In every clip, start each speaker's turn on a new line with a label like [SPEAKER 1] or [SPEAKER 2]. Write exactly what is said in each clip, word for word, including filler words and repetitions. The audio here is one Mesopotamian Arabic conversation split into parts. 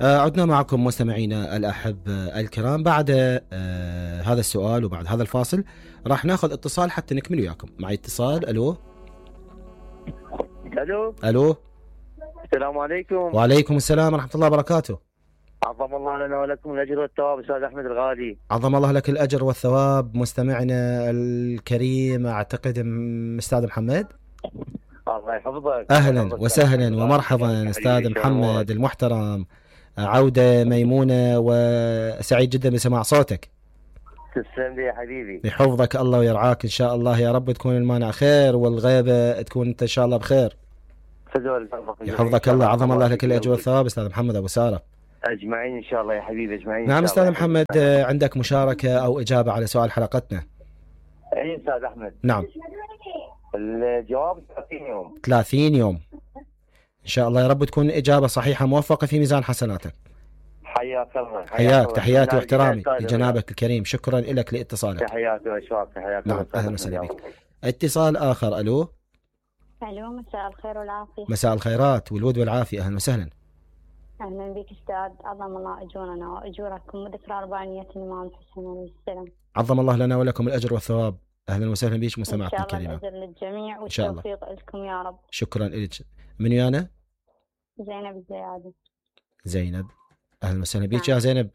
[SPEAKER 1] آه عدنا معكم مستمعينا الأحبة الكرام بعد آه هذا السؤال وبعد هذا الفاصل راح ناخذ اتصال حتى نكمل وياكم. معي اتصال. ألو
[SPEAKER 2] الو
[SPEAKER 1] ألو
[SPEAKER 2] السلام عليكم.
[SPEAKER 1] وعليكم السلام ورحمة الله وبركاته.
[SPEAKER 2] عظم الله لنا ولكم الأجر والثواب أستاذ أحمد الغالي.
[SPEAKER 1] عظم الله لك الأجر والثواب مستمعنا الكريم. أعتقد أستاذ محمد.
[SPEAKER 2] الله يحفظك.
[SPEAKER 1] أهلا وسهلا ومرحبا أستاذ محمد المحترم. عودة ميمونة وسعيد جدا بسماع صوتك.
[SPEAKER 2] تسلم لي يا حبيبي.
[SPEAKER 1] يحفظك الله ويرعاك إن شاء الله يا رب. تكون المانع خير والغيبة تكون أنت إن شاء الله بخير. يحفظك الله. عظم الله لك الأجر والثواب أستاذ محمد أبو سارة.
[SPEAKER 2] أجمعين إن شاء الله يا حبيبي أجمعين.
[SPEAKER 1] نعم أستاذ محمد، عندك مشاركة أو إجابة على سؤال حلقتنا؟
[SPEAKER 2] أي أستاذ أحمد.
[SPEAKER 1] نعم.
[SPEAKER 2] الجواب ثلاثين يوم.
[SPEAKER 1] ثلاثين يوم إن شاء الله يا رب تكون إجابة صحيحة موفقة في ميزان حسناتك.
[SPEAKER 2] حياك الله.
[SPEAKER 1] حياك. تحياتي واحترامي لجنابك الكريم. شكرا لك لاتصالك.
[SPEAKER 2] تحياتي واشواق. تحياتي.
[SPEAKER 1] نعم أهلا وسهلا بك. اتصال آخر. ألو.
[SPEAKER 3] ألو مساء الخير والعافية.
[SPEAKER 1] مساء الخيرات والود والعافية. أهلا وسهلا.
[SPEAKER 3] أهلا بك أستاذ. عظم الله أجورنا وأجوركم وذكرى أربعينية الإمام الحسين عليه السلام.
[SPEAKER 1] عظم الله لنا ولكم الأجر والثواب. أهلا وسهلا بك مستمعتنا الكريمة.
[SPEAKER 3] إن شاء الله الأجر للجميع والتوفيق لكم يا رب.
[SPEAKER 1] شكرا لك. من ويانا؟
[SPEAKER 3] زينب الزيادي.
[SPEAKER 1] زينب أهلا وسهلا بك يا زينب.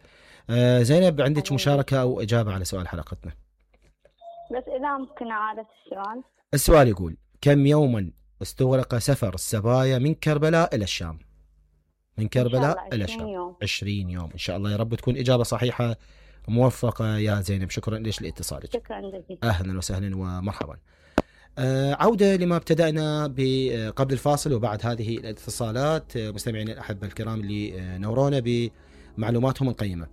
[SPEAKER 1] آه زينب عندك مشاركة أو إجابة على سؤال حلقتنا؟
[SPEAKER 3] بس إذا ممكن أعادة السؤال.
[SPEAKER 1] السؤال يقول: كم يوما استغرق سفر السبايا من كربلاء إلى الشام؟ من كربلاء إلى الشام.
[SPEAKER 3] يوم.
[SPEAKER 1] عشرين يوم إن شاء الله يا رب تكون إجابة صحيحة موفقة يا زينب. شكرا لك لاتصالك.
[SPEAKER 3] شكرا جزيلا.
[SPEAKER 1] أهلا وسهلا ومرحبا. آه عودة لما ابتدأنا قبل الفاصل وبعد هذه الاتصالات مستمعين الأحبة الكرام اللي نورونا بمعلوماتهم القيمة.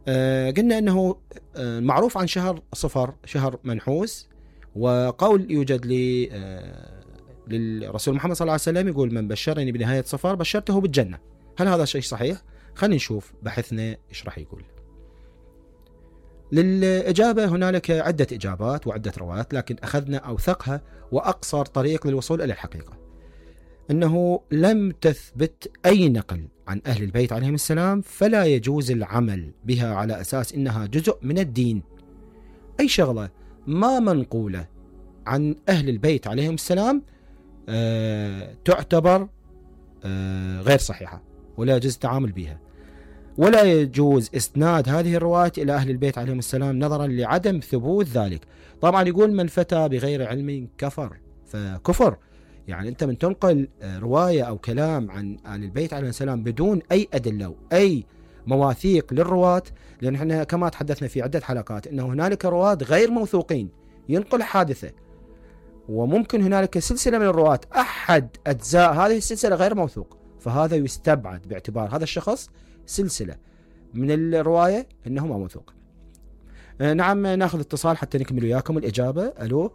[SPEAKER 1] آه قلنا أنه آه معروف عن شهر صفر شهر منحوس، وقول يوجد لي آه للرسول محمد صلى الله عليه وسلم يقول: من بشرني بنهاية صفر بشرته بالجنة. هل هذا شيء صحيح؟ خلينا نشوف بحثنا إيش راح يقول. للإجابة هنالك عدة إجابات وعدة روايات، لكن أخذنا أوثقها وأقصر طريق للوصول إلى الحقيقة، أنه لم تثبت أي نقل عن أهل البيت عليهم السلام، فلا يجوز العمل بها على أساس إنها جزء من الدين. أي شغلة ما منقولة عن أهل البيت عليهم السلام آه تعتبر آه غير صحيحة ولا يجوز التعامل بها، ولا يجوز إسناد هذه الروايات إلى أهل البيت عليهم السلام نظرا لعدم ثبوت ذلك. طبعا يقول: من فتى بغير علم كفر. فكفر يعني أنت من تنقل رواية أو كلام عن أهل البيت عليهم السلام بدون أي أدلة أو أي مواثيق للرواة، لأن احنا كما تحدثنا في عدة حلقات أنه هنالك رواة غير موثوقين ينقل حادثة، وممكن هنالك سلسلة من الرواة أحد أجزاء هذه السلسلة غير موثوق، فهذا يستبعد باعتبار هذا الشخص سلسلة من الرواية أنه ما موثوق. آه نعم ناخذ اتصال حتى نكمل وياكم الإجابة. ألو.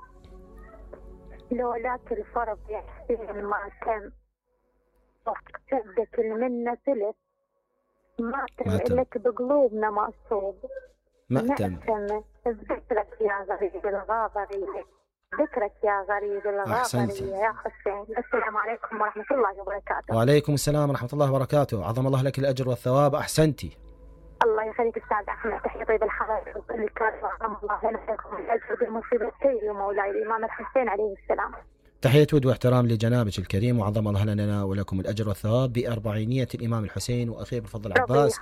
[SPEAKER 3] لو لك الفرض يحسين ما تم وقتك المنة ثلث ما تم لك بقلوبنا مقصود
[SPEAKER 1] ما تم
[SPEAKER 3] ذكرك يا غريب الغاضري ذكرك يا غريب الغاضري يا حسين. السلام عليكم ورحمة الله وبركاته.
[SPEAKER 1] وعليكم السلام ورحمة الله وبركاته. عظم الله لك الأجر والثواب. أحسنتي.
[SPEAKER 3] الله يخليك أستاذ أحمد. تحية طيب الحلال الكريم. عظم الله لكم الأجر بالمصيبة السيد ومولاي الإمام الحسين عليه السلام.
[SPEAKER 1] تحية ود واحترام لجنابك الكريم، وعظم الله لنا ولكم الأجر والثواب بأربعينية الإمام الحسين وأخيه بالفضل العباس.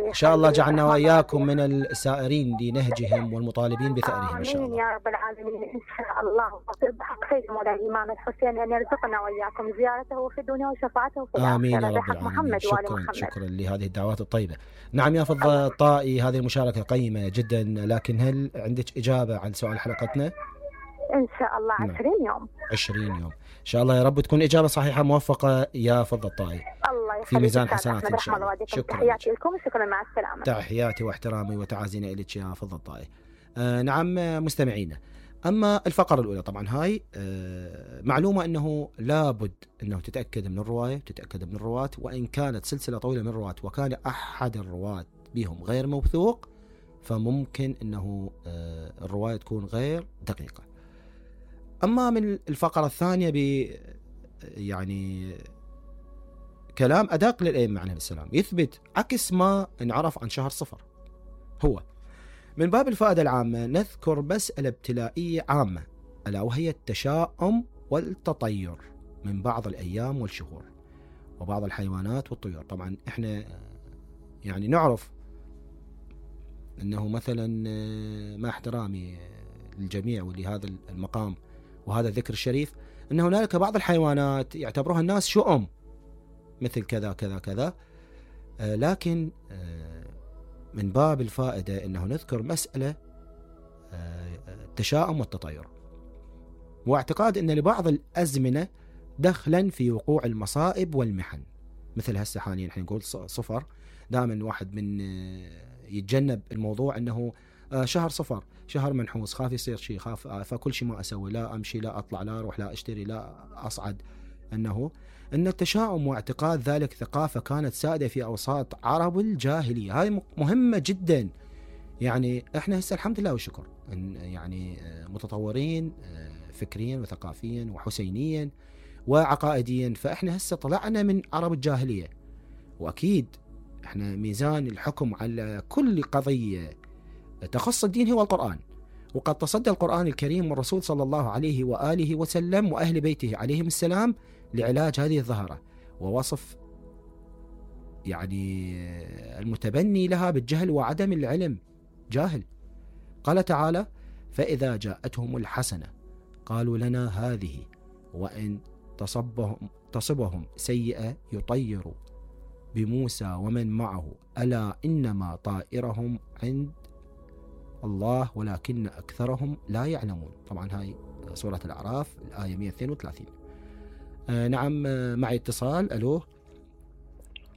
[SPEAKER 1] إن شاء الله جعلنا وإياكم من السائرين لنهجهم والمطالبين بثأرهم إن شاء الله.
[SPEAKER 3] آمين يا رب العالمين إن شاء الله. بحق سيد مولاي الإمام الحسين أن يرزقنا وإياكم زيارته في الدنيا وشفاعته في الآخرة.
[SPEAKER 1] آمين يا رب العالمين. شكرا شكرا لهذه الدعوات الطيبة. نعم يا فضل الطائي، هذه المشاركة قيمة جدا، لكن هل عندك إجابة عن سؤال حلقتنا؟
[SPEAKER 3] إن شاء الله عشرين يوم.
[SPEAKER 1] عشرين يوم إن شاء الله يا رب تكون إجابة صحيحة موفقة يا فضل الطائي.
[SPEAKER 3] الله يخليك
[SPEAKER 1] في ميزان حسنات إن شاء الله.
[SPEAKER 3] شكرا. تحياتي لكم وشكرا مع السلامة.
[SPEAKER 1] تحياتي واحترامي وتعازينا إليك يا فضل الطائي. آه نعم مستمعينا، أما الفقرة الأولى طبعا هاي آه معلومة أنه لابد أنه تتأكد من الرواية تتأكد من الرواة، وإن كانت سلسلة طويلة من الرواة وكان أحد الرواة بهم غير موثوق فممكن أنه آه الرواية تكون غير دقيقة. أما من الفقرة الثانية ب يعني كلام أدق للأئمة عليهم السلام، يثبت عكس ما انعرف عن شهر صفر. هو من باب الفائدة العامة نذكر مسألة ابتلائية عامة، ألا وهي التشاؤم والتطير من بعض الأيام والشهور وبعض الحيوانات والطيور. طبعا احنا يعني نعرف أنه مثلا مع احترامي للجميع ولهذا المقام وهذا الذكر الشريف، أن هنالك بعض الحيوانات يعتبرها الناس شؤم مثل كذا كذا كذا، لكن من باب الفائدة أنه نذكر مسألة التشاؤم والتطير، واعتقاد أن لبعض الأزمنة دخلا في وقوع المصائب والمحن. مثل هسه حاليا احنا نقول صفر، دائما واحد من يتجنب الموضوع أنه شهر صفر شهر منحوس، خاف يصير شيء، خاف فكل شيء ما أسوي، لا أمشي لا أطلع لا أروح لا أشتري لا أصعد. أنه أن التشاؤم واعتقاد ذلك ثقافة كانت سائدة في أوساط عرب الجاهلية. هاي مهمة جدا. يعني احنا هسه الحمد لله والشكر يعني متطورين فكريا وثقافيا وحسينيا وعقائديا، فاحنا هسه طلعنا من عرب الجاهلية، واكيد احنا ميزان الحكم على كل قضية تخص الدين هو القرآن، وقد تصدى القرآن الكريم والرسول صلى الله عليه وآله وسلم وأهل بيته عليهم السلام لعلاج هذه الظاهرة ووصف يعني المتبني لها بالجهل وعدم العلم، جاهل. قال تعالى: فإذا جاءتهم الحسنة قالوا لنا هذه وإن تصبهم, تصبهم سيئة يطيروا بموسى ومن معه ألا إنما طائرهم عند الله ولكن أكثرهم لا يعلمون. طبعا هاي سورة الأعراف الآية مئة واثنين وثلاثين. آه نعم، معي اتصال. ألو.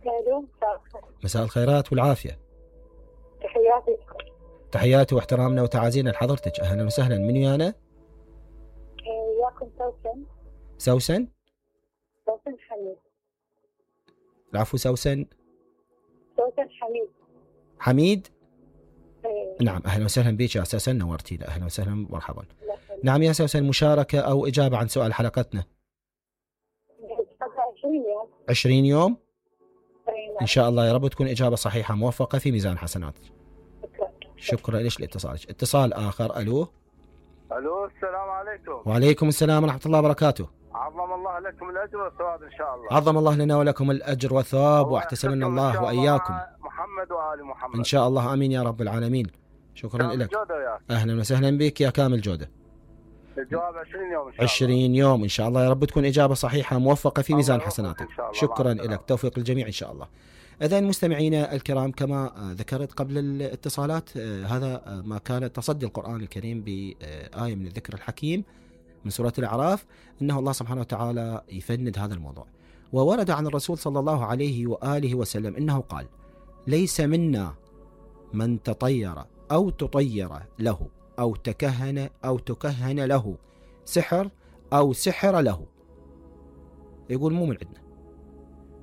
[SPEAKER 3] ألو.
[SPEAKER 1] مساء الخيرات والعافية.
[SPEAKER 3] تحياتي.
[SPEAKER 1] تحياتي واحترامنا وتعازينا لحضرتك. أهلا وسهلا. من ويانا؟
[SPEAKER 3] وياكم سوسن.
[SPEAKER 1] سوسن؟
[SPEAKER 3] سوسن حميد.
[SPEAKER 1] العفو سوسن.
[SPEAKER 3] سوسن حميد.
[SPEAKER 1] حميد؟
[SPEAKER 3] إيه.
[SPEAKER 1] نعم، أهلا وسهلا بك يا سوسن، نورتينا. أهلا وسهلا مرحبا. نعم يا سوسن، مشاركة أو إجابة عن سؤال حلقتنا؟
[SPEAKER 3] عشرين يوم.
[SPEAKER 1] عشرين يوم؟ إن شاء الله يا رب تكون إجابة صحيحة موفقة في ميزان حسناتك. شكرا لك لاتصالك. اتصال آخر. ألو.
[SPEAKER 2] الو السلام عليكم.
[SPEAKER 1] وعليكم السلام ورحمة الله وبركاته.
[SPEAKER 2] عظم الله لكم الاجر والثواب ان شاء الله.
[SPEAKER 1] عظم الله لنا ولكم الاجر والثواب، واحتسبنا الله واياكم.
[SPEAKER 2] محمد وآل محمد
[SPEAKER 1] ان شاء الله. امين يا رب العالمين. شكرا لك. اهلا وسهلا بك يا كامل جودة.
[SPEAKER 2] الجواب عشرين يوم ان شاء الله.
[SPEAKER 1] عشرين يوم ان شاء الله يا رب تكون اجابة صحيحة موفقة في ميزان حسناتك. شكرا لك، توفيق الجميع ان شاء الله. إذن مستمعينا الكرام، كما ذكرت قبل الاتصالات، هذا ما كان تصدي القرآن الكريم بآية من الذكر الحكيم من سورة الأعراف، إنه الله سبحانه وتعالى يفند هذا الموضوع. وورد عن الرسول صلى الله عليه وآله وسلم إنه قال: ليس منا من تطير أو تطير له أو تكهن أو تكهن له سحر أو سحر له. يقول مو من عندنا،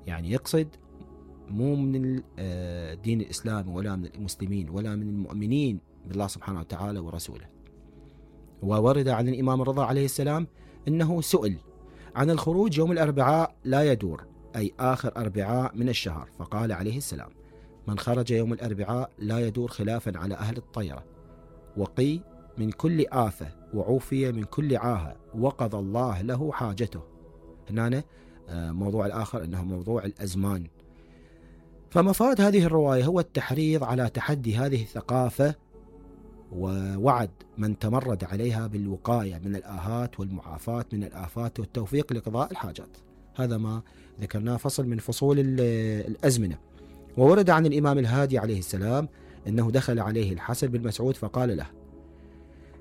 [SPEAKER 1] يعني يقصد مو من الدين الإسلامي ولا من المسلمين ولا من المؤمنين بالله سبحانه وتعالى ورسوله. وورد عن الإمام الرضا عليه السلام أنه سئل عن الخروج يوم الأربعاء لا يدور، أي آخر أربعاء من الشهر، فقال عليه السلام: من خرج يوم الأربعاء لا يدور خلافا على أهل الطيرة، وقي من كل آفة وعوفي من كل عاهة وقضى الله له حاجته. هنا موضوع الآخر أنه موضوع الأزمان. فمفاد هذه الرواية هو التحريض على تحدي هذه الثقافة، ووعد من تمرد عليها بالوقاية من الآهات والمعافاة من الآفات والتوفيق لقضاء الحاجات. هذا ما ذكرناه فصل من فصول الأزمنة. وورد عن الإمام الهادي عليه السلام أنه دخل عليه الحسن بن مسعود فقال له: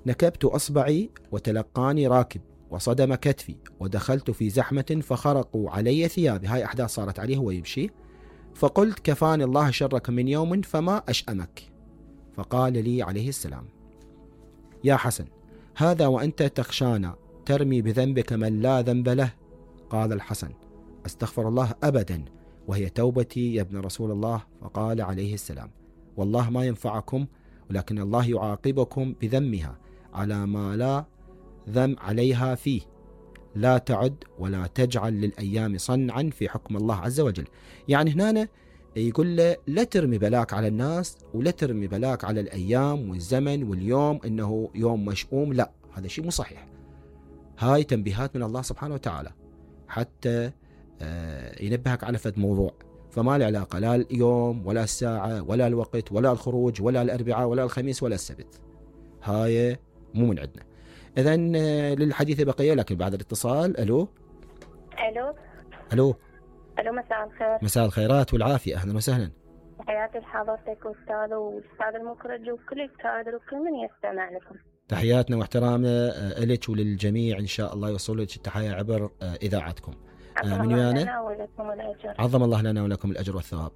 [SPEAKER 1] نكبت أصبعي وتلقاني راكب وصدم كتفي ودخلت في زحمة فخرقوا علي ثيابي. هاي أحداث صارت عليه هو يمشي، فقلت: كفاني الله شرك من يوم فما أشأمك. فقال لي عليه السلام: يا حسن، هذا وأنت تخشانا ترمي بذنبك من لا ذنب له. قال الحسن: أستغفر الله أبدا، وهي توبتي يا ابن رسول الله. فقال عليه السلام: والله ما ينفعكم، ولكن الله يعاقبكم بذمها على ما لا ذم عليها فيه. لا تعد ولا تجعل للأيام صنعا في حكم الله عز وجل. يعني هنا يقول له لا ترمي بلاك على الناس ولا ترمي بلاك على الأيام والزمن واليوم إنه يوم مشؤوم، لا، هذا شيء مو صحيح. هاي تنبيهات من الله سبحانه وتعالى حتى ينبهك على فد موضوع، فما له علاقة لا اليوم ولا الساعة ولا الوقت ولا الخروج ولا الأربعاء ولا الخميس ولا السبت، هاي مو من عندنا. إذن للحديث بقية لكن بعد الاتصال. ألو
[SPEAKER 3] الو
[SPEAKER 1] ألو
[SPEAKER 3] الو مساء الخير.
[SPEAKER 1] مساء الخيرات والعافية، أهلا وسهلا.
[SPEAKER 3] تحياتي لحضرتك واستاذ واستاذ المخرج وكل الكادر وكل من يستمع لكم.
[SPEAKER 1] تحياتنا واحترامنا لك وللجميع، إن شاء الله يوصل لك التحية عبر إذاعتكم. من ويانا؟ عظم الله لنا ولكم الأجر والثواب.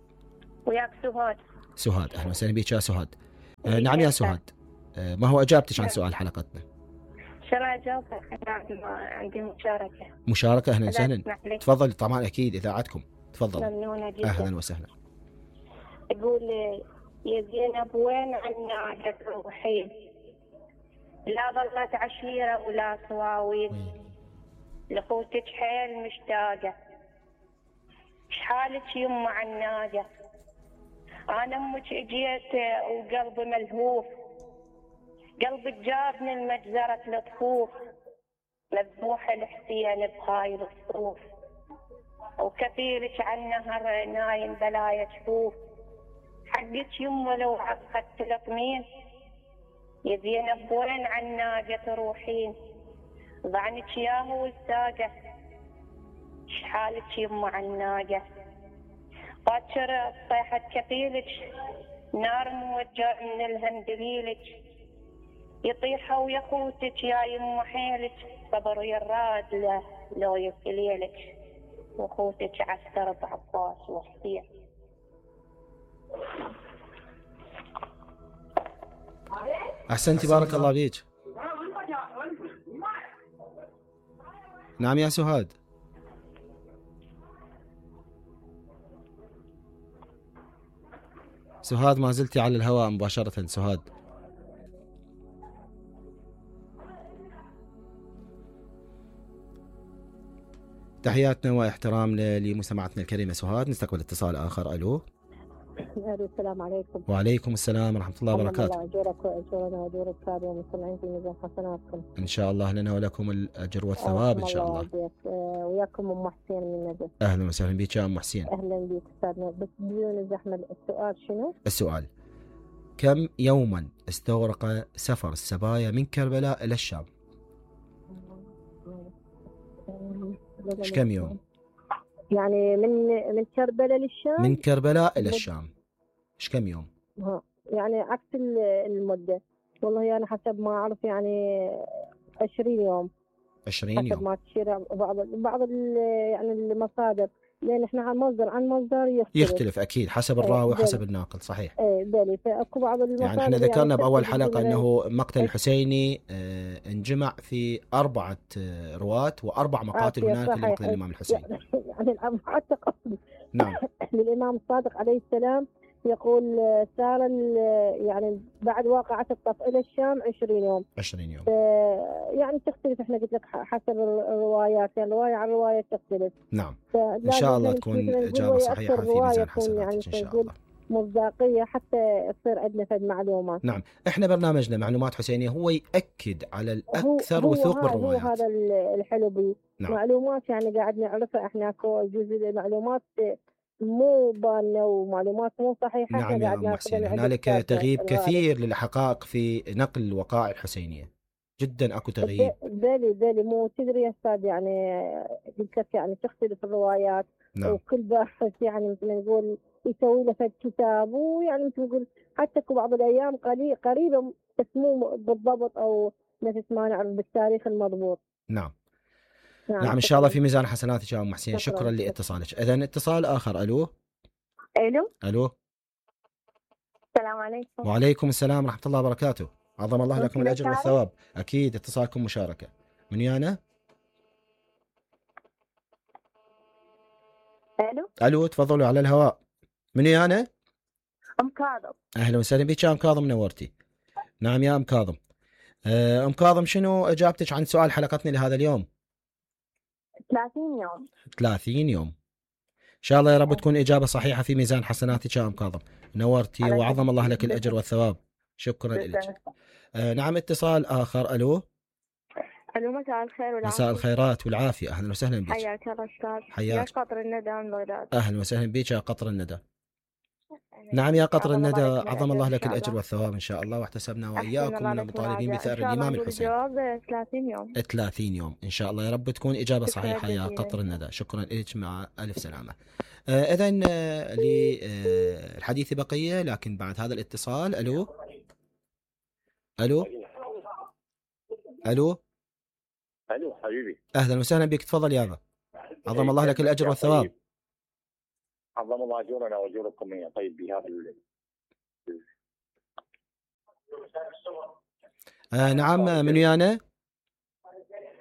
[SPEAKER 3] وياك سهاد.
[SPEAKER 1] سهاد، أهلا وسهلا بك يا سهاد. آه نعم يا سهاد، آه ما هو أجابتك عن سؤال حلقتنا؟
[SPEAKER 3] شو أجابتك؟ عندي مشاركة.
[SPEAKER 1] مشاركة، أهلا وسهلا. تفضل. طبعا أكيد إذاعتكم، تفضل.
[SPEAKER 3] ممنونة جدا.
[SPEAKER 1] أهلا وسهلا.
[SPEAKER 3] يقول يا زينب وين عنا روحين؟ لا ظلت عشيرة ولا سواويل، لأخوتك حيل مشتاقة، شحالك يمه عناقة، أنا أمك اجيت وقلبي ملهوف، قلبك جابني المجزرة الطفوف، مذبوح الحسين بهاي الصفوف، وكثيرك عنها نايم بلايا جفوف، حقك يمه لو عقدت تلطمين، يا زينب وين عناقة تروحين؟ ضعنك ياهو الساقة، شحالك يمه عناقة، باكر صيحة كفيلك، نار موجع من الهم دليلك، يطيحوا ويا خوتك يا يمه حيلك، صبر يراد له لو يكليلك، وخوتك عسكر بعباس وحسين.
[SPEAKER 1] أحسنتي، بارك الله بيك. نعم يا سهاد. سهاد ما زلتي على الهواء مباشرة. سهاد تحياتنا واحترامنا لمستمعتنا الكريمة سهاد. نستقبل اتصال آخر. ألو.
[SPEAKER 3] السلام عليكم.
[SPEAKER 1] وعليكم السلام ورحمة الله وبركاته.
[SPEAKER 3] الله أجورك وأجورنا وأجور الكتاب ومستمعين في ميزان حسناتكم.
[SPEAKER 1] إن شاء الله لنا ولكم الأجر والثواب إن شاء الله.
[SPEAKER 3] الله وياكم أم حسين من نجف.
[SPEAKER 1] أهلا وسهلا بك يا أم حسين.
[SPEAKER 3] أهلا بك أستاذنا، بس بدون الزحمة السؤال شنو؟
[SPEAKER 1] السؤال: كم يوما استغرق سفر السبايا من كربلاء إلى الشام؟ إيش كم يوم؟
[SPEAKER 3] يعني من من كربلاء للشام؟
[SPEAKER 1] من كربلاء إلى الشام إيش كم يوم؟
[SPEAKER 3] ها يعني عكس المدة. والله أنا حسب ما أعرف يعني عشرين يوم.
[SPEAKER 1] عشرين يوم
[SPEAKER 3] حسب ما تشير بعض بعض يعني المصادر، لأن إحنا عن مصدر عن مصدر يختلف.
[SPEAKER 1] يختلف أكيد حسب الراوي وحسب الناقل. صحيح.
[SPEAKER 3] إيه بالي. فأكو بعض المصادر
[SPEAKER 1] يعني إحنا ذكرنا يعني بأول حلقة أنه مقتل الحسيني آه انجمع في أربعة آه رواة وأربع مقاتل هناك لمقتل الإمام الحسين.
[SPEAKER 3] يعني حتى قصد
[SPEAKER 1] نعم
[SPEAKER 3] للإمام الصادق عليه السلام يقول سار يعني بعد واقعة الطف إلى الشام عشرين يوم.
[SPEAKER 1] عشرين يوم
[SPEAKER 3] يعني تختلف. احنا قلت لك حسب الروايات، يعني رواية عن رواية تختلف.
[SPEAKER 1] نعم إن شاء الله تكون إجابة صحيحة في ميزان حسناتك يعني إن شاء الله،
[SPEAKER 3] مصداقية حتى تصير عندنا فد معلومات.
[SPEAKER 1] نعم إحنا برنامجنا معلومات حسينية هو يأكد على الأكثر وثوق بالروايات.
[SPEAKER 3] هو هذا الحلو بي.
[SPEAKER 1] نعم.
[SPEAKER 3] معلومات يعني قاعد نعرفها احنا كو جزء المعلومات مو بانه ومعلومات مو صحيحة.
[SPEAKER 1] نعم يا أم حسين، هنالك تغييب كثير للحقائق في نقل الوقائع الحسينية، جدا اكو تغييب.
[SPEAKER 3] بالي بالي مو تدري يا استاذ يعني قلت لك يعني تختلف الروايات.
[SPEAKER 1] نعم.
[SPEAKER 3] وكل باحث يعني مثل ما نقول يسوي له فد كتاب، ويعني مثل ما نقول حتى اكو بعض الايام قريبه بس مو بالضبط او نفس ما نعرف بالتاريخ المضبوط.
[SPEAKER 1] نعم. نعم, نعم إن شاء الله في ميزان حسناتك يا أم حسين. شكرا, شكرا لاتصالك. إذن اتصال آخر. ألو.
[SPEAKER 3] ألو.
[SPEAKER 1] ألو.
[SPEAKER 3] السلام عليكم.
[SPEAKER 1] وعليكم السلام ورحمة الله وبركاته. عظم الله لكم الأجر والثواب. أكيد اتصالكم مشاركة. من يانا؟
[SPEAKER 3] ألو.
[SPEAKER 1] ألو تفضلوا على الهواء. من يانا؟
[SPEAKER 3] أم كاظم.
[SPEAKER 1] أهلا وسهلا بك يا أم كاظم، نورتي. نعم يا أم كاظم. أم كاظم شنو إجابتك عن سؤال حلقتنا لهذا اليوم؟
[SPEAKER 3] ثلاثين يوم.
[SPEAKER 1] ثلاثين يوم إن شاء الله يا رب تكون إجابة صحيحة في ميزان حسناتك يا أم كاظم. نورتي وعظم الله لك الأجر والثواب. شكرا لك. آه نعم اتصال آخر. ألو.
[SPEAKER 3] ألو مساء الخير والعافية.
[SPEAKER 1] مساء الخيرات والعافية. أهلا وسهلا بك.
[SPEAKER 3] حياك الله أستاذ.
[SPEAKER 1] حياك.
[SPEAKER 3] يا قطر الندى من بغداد.
[SPEAKER 1] أهلا وسهلا بك يا قطر الندى. نعم يا قطر الندى عظم الله لك الأجر والثواب إن شاء الله، واحتسبنا وإياكم من المطالبين بثأر الإمام الحسين.
[SPEAKER 3] الجواب ثلاثين يوم.
[SPEAKER 1] ثلاثين يوم إن شاء الله يا رب تكون إجابة صحيحة يا قطر الندى. شكرا لك مع ألف سلامة. آه إذن آه للحديث بقية لكن بعد هذا الاتصال. ألو ألو ألو
[SPEAKER 4] ألو حبيبي.
[SPEAKER 1] أهلا وسهلا بك. تفضل يا ابا. عظم الله لك الأجر والثواب.
[SPEAKER 4] عظم الله أجورنا وأجوركم يا طيب بهذا ال...
[SPEAKER 1] آه نعم من ويانا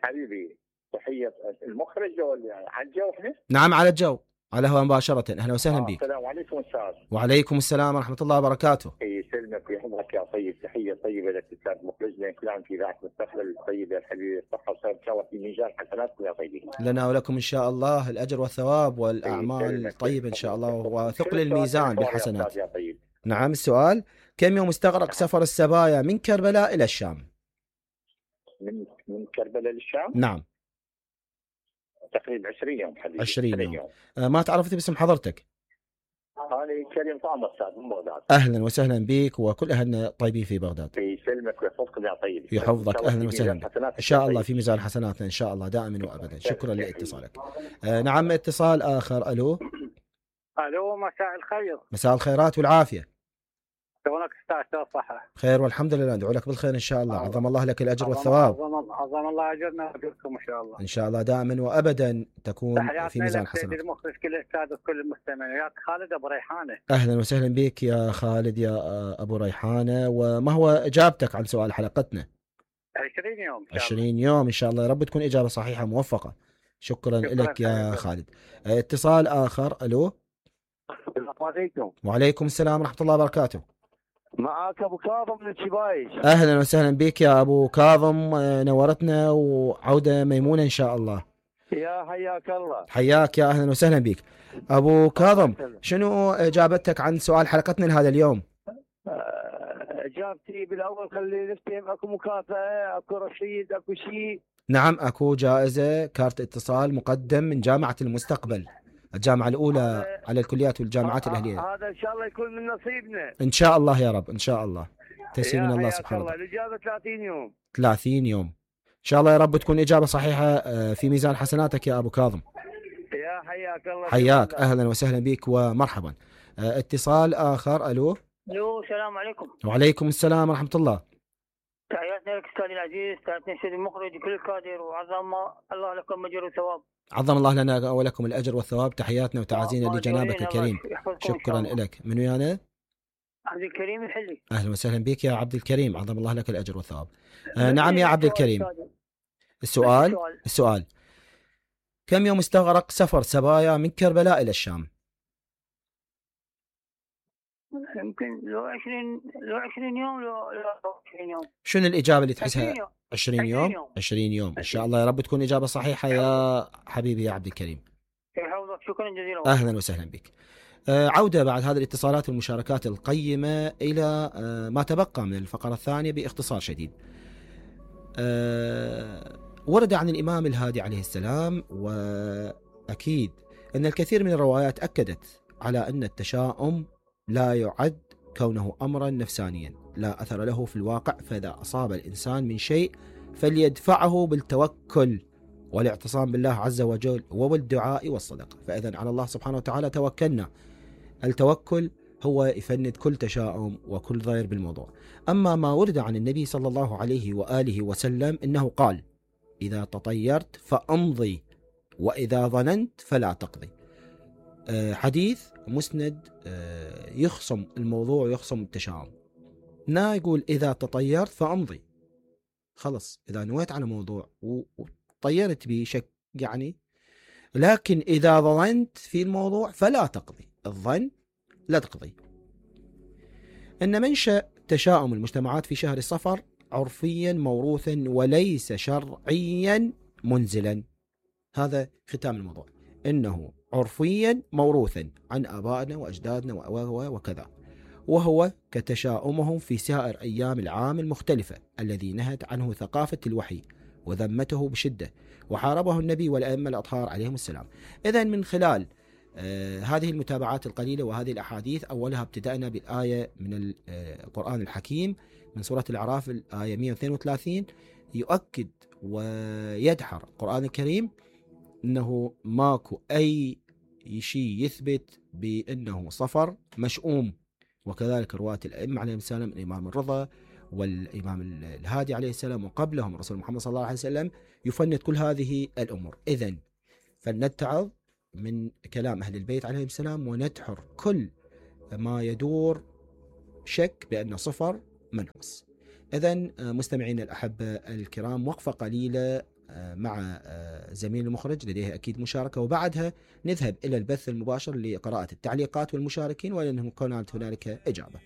[SPEAKER 4] حبيبي. تحية المخرج ولا على الجو احنا؟
[SPEAKER 1] نعم على الجو على هو مباشرة. أهلا وسهلا
[SPEAKER 4] آه
[SPEAKER 1] بك.
[SPEAKER 4] السلام عليكم أستاذ.
[SPEAKER 1] وعليكم السلام ورحمة الله وبركاته.
[SPEAKER 4] يسلمك ويحفظك يا طيب. تحية طيبة لك أستاذ مخرجنا كلام في ذات مستقبل الطيب يا حبيبي. الصحة والسلامة إن شاء الله في ميزان حسناتكم يا طيبين.
[SPEAKER 1] لنا ولكم إن شاء الله الأجر والثواب والأعمال الطيبة إن شاء الله وثقل الميزان بالحسنات.
[SPEAKER 4] يا طيب.
[SPEAKER 1] نعم السؤال: كم يوم استغرق سفر السبايا من كربلاء إلى الشام؟
[SPEAKER 4] من من كربلاء للشام؟
[SPEAKER 1] نعم
[SPEAKER 4] تقريبا عشرين يوم حبيبي.
[SPEAKER 1] عشرين يوم. يوم. آه ما تعرفت باسم حضرتك؟
[SPEAKER 4] أنا كريم طعم أستاذ من بغداد.
[SPEAKER 1] أهلا وسهلا بك وكل أهلنا طيبين في بغداد.
[SPEAKER 4] يسلمك ويحفظكم يا طيب.
[SPEAKER 1] يحفظك. أهلا وسهلا إن شاء الله في ميزان حسناتنا إن شاء الله دائما وأبدا. شكرا لاتصالك. آه نعم اتصال آخر. ألو.
[SPEAKER 5] ألو مساء الخير.
[SPEAKER 1] مساء الخيرات والعافية.
[SPEAKER 5] شلونك استاذ؟ صحة
[SPEAKER 1] خير والحمد لله. ندعو لك بالخير إن شاء الله. عظم الله لك الأجر والثواب.
[SPEAKER 5] عظم, عظم الله أجرنا وأجركم إن شاء الله.
[SPEAKER 1] إن شاء الله دائما وأبدا تكون في ميزان حسنات.
[SPEAKER 5] المخرج كل الأستاذ وكل المستمعين. يا خالد أبو ريحانة.
[SPEAKER 1] أهلا وسهلا بك يا خالد يا أبو ريحانة. وما هو إجابتك عن سؤال حلقتنا؟
[SPEAKER 5] عشرين يوم.
[SPEAKER 1] عشرين يوم إن شاء الله يا رب تكون إجابة صحيحة موفقة. شكرا, شكرا لك يا خالد. اتصال آخر. ألو.
[SPEAKER 6] السلام عليكم.
[SPEAKER 1] وعليكم السلام ورحمة الله وبركاته.
[SPEAKER 6] معك أبو كاظم من الشبايش.
[SPEAKER 1] أهلا وسهلا بك يا أبو كاظم. نورتنا وعودة ميمونة إن شاء الله.
[SPEAKER 6] يا حياك الله.
[SPEAKER 1] حياك يا أهلا وسهلا بك أبو كاظم. شنو إجابتك عن سؤال حلقتنا لهذا اليوم؟
[SPEAKER 6] إجابتي بالأول خلي نفتهم. أكو مكافأة، أكو رشيد، أكو شيء؟
[SPEAKER 1] نعم أكو جائزة كارت اتصال مقدم من جامعة المستقبل، الجامعة الأولى على الكليات والجامعات الأهلية.
[SPEAKER 6] هذا إن شاء الله يكون من نصيبنا
[SPEAKER 1] إن شاء الله يا رب. إن شاء الله تسليم من الله سبحانه وتعالى.
[SPEAKER 6] الإجابة ثلاثين يوم.
[SPEAKER 1] ثلاثين يوم إن شاء الله يا رب تكون إجابة صحيحة في ميزان حسناتك يا أبو كاظم.
[SPEAKER 6] يا حياك الله.
[SPEAKER 1] حياك. أهلا وسهلا بك ومرحبا. اتصال آخر. ألو.
[SPEAKER 7] ألو السلام عليكم.
[SPEAKER 1] وعليكم السلام ورحمة الله.
[SPEAKER 7] تحياتنا لك أستاذ العزيز. تحياتنا السيد المخرج كل الكادر وعظم الله لكم أجر وثواب.
[SPEAKER 1] عظم الله لنا ولكم الأجر والثواب. تحياتنا وتعازينا لجنابك الكريم. شكرا لك. من ويانا؟
[SPEAKER 7] عبد الكريم الحلي.
[SPEAKER 1] أهلا وسهلا بك يا عبد الكريم. عظم الله لك الأجر والثواب. آه نعم يا عبد الكريم. السؤال السؤال كم يوم استغرق سفر سبايا من كربلاء إلى الشام؟
[SPEAKER 7] يمكن لو عشرين لو عشرين يوم لو عشرين يوم.
[SPEAKER 1] شنو الإجابة اللي تحسها؟ عشرين يوم. عشرين يوم إن شاء الله يا رب تكون إجابة صحيحة يا حبيبي يا عبد الكريم.
[SPEAKER 7] يحفظك. شكرا جزيلا.
[SPEAKER 1] أهلا وسهلا بك. آه عودة بعد هذه الاتصالات والمشاركات القيمة إلى آه ما تبقى من الفقرة الثانية باختصار شديد. آه ورد عن الإمام الهادي عليه السلام وأكيد أن الكثير من الروايات أكدت على أن التشاؤم لا يعد كونه أمرا نفسانيا لا أثر له في الواقع، فإذا أصاب الإنسان من شيء فليدفعه بالتوكل والاعتصام بالله عز وجل وبالدعاء والصدقة. فإذا على الله سبحانه وتعالى توكلنا. التوكل هو يفند كل تشاؤم وكل ضير بالموضوع. أما ما ورد عن النبي صلى الله عليه وآله وسلم إنه قال: إذا تطيرت فأمضي وإذا ظننت فلا تقضي. حديث مسند يخصم الموضوع ويخصم التشاؤم. لا يقول إذا تطيرت فأمضي، خلص إذا نويت على موضوع وطيرت به شك يعني، لكن إذا ظننت في الموضوع فلا تقضي. الظن لا تقضي. إن منشأ تشاؤم المجتمعات في شهر الصفر عرفيا موروثا وليس شرعيا منزلا. هذا ختام الموضوع، إنه عرفيا موروثا عن آبائنا وأجدادنا وكذا، وهو كتشاؤمهم في سائر أيام العام المختلفة الذي نهت عنه ثقافة الوحي وذمته بشدة وحاربه النبي والأئمة الأطهار عليهم السلام. إذن من خلال آه هذه المتابعات القليلة وهذه الأحاديث، أولها ابتدأنا بالآية من القرآن الحكيم من سورة الأعراف الآية مئة واثنين وثلاثين، يؤكد ويدحر القرآن الكريم أنه ماكو أي شيء يثبت بأنه صفر مشؤوم. وكذلك رواة الأئمة عليهم السلام، الإمام الرضا والإمام الهادي عليه السلام وقبلهم رسول محمد صلى الله عليه وسلم، يفند كل هذه الأمور. إذن فلنتعظ من كلام أهل البيت عليهم السلام وندحر كل ما يدور شك بأنه صفر منحوس. إذن مستمعين الأحبة الكرام، وقفة قليلة مع زميل المخرج لديه أكيد مشاركة، وبعدها نذهب إلى البث المباشر لقراءة التعليقات والمشاركين، ولأنه كانت هنالك إجابة.